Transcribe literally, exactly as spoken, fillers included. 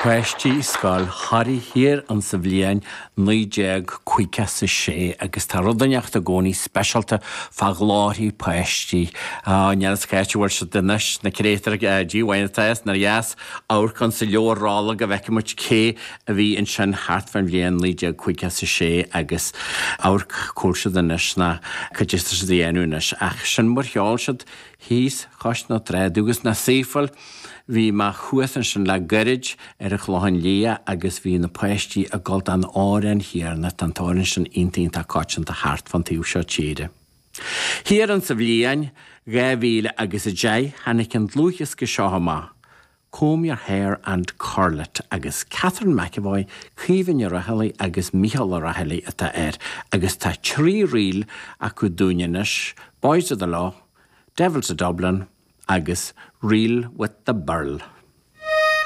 Páistí Scoil Thoraí thiar an sa bhliain naoi déag caoga is a sé agus tá rud inteacht i gcónaí speisialta fá ghlórthaí páistí. Níl fhios cá háit a bhfuil siad anois, na créatúir díomhaoin atá is nár dheas amharc ann sa leabhar rolla go bhfeicfidh muid cé a bhí ansin thart fán bhliain naoi déag caoga is a sé agus amharc cá bhfuil siad anois ná cad é atá siad a dhéanamh anois ach sin mar cheol siad thíos cois na trá agus na saofail. Bhí mé thuas ansin le gairid ar an Chlochán Liath agus bhí na páistí ag gabháil don amhrán chéanna, tá an t-amhrán sin iontach iontach coitianta thart fán taobh seo tíre. Thiar an sa bhliain dhá mhíle agus a deich tháinig an dlúthdhiosca seo amach, Comb Your Hair and Curl It agus Catherine McEvoy, Caoimhe Ní Raghallaigh agus Mícheál Ó Raghallaigh atá air agus tá trí ríl acu dúinn anois, Boys of the Law, Devils of Dublin agus Reel with the Birl.